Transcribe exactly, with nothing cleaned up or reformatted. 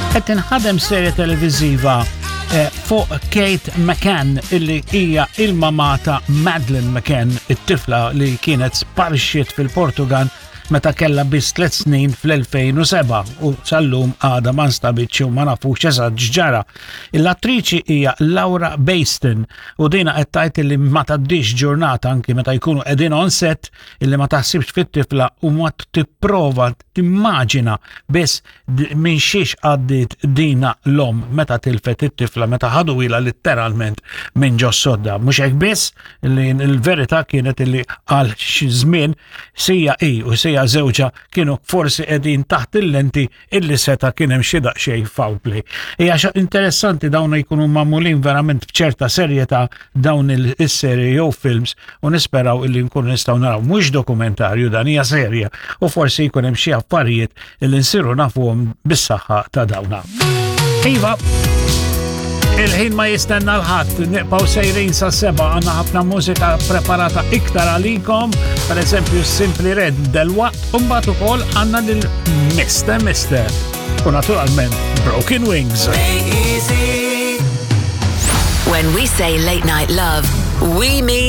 Qed tinħadem serje televiżiva eh, fuq Kate McCann, illi hija il-mama ta' Madeleine McCann, it-tifla li kienet sparixxiet fil-Portugal meta kella biss tliet snin fl-elfejn u sebgħa u sal-lum għada ma nstabitx u ma nafux eżatt x'ġara. L-attriċi hija Laura Bayston u dina qed tgħid li ma tgħaddix ġurnata, anki meta jkunu qegħdin on set, illi ma taħsibx fit-tifla u ma tipprova timmaġina biss minn xiex għaddiet dina l-omm meta tilfet it-tifla, meta ħaduhielha letteralment minn ġo sodda. Mhux hekk biss, li l-verità kienet illi għal xi żmien sija i u sija żewġha kienu forsi qegħdin taħt il-lenti illi seta' kien hemm xi daqsxejn foul play. Hija xa interessanti, dawn jkunu magħmulin verament b'ċerta serjetà dawn il-serje jew films, u nisperaw illi nkunu nistgħu naraw mhux dokumentarju, dan hija serja, u forsi jkun hemm xi affarijiet illi nsiru nafuhom bis-saħħa ta' dawna. Iva, il-ħin ma jistenna 'l ħadd, nibqgħu sejrin sa sebgħa, għandna ħafna mużika preparata iktar għalikom, per eżempju Simply Red delwaqt, u mbagħad ukoll għandna lil Mister Mister u naturalment Broken Wings. When we say late night love, we mean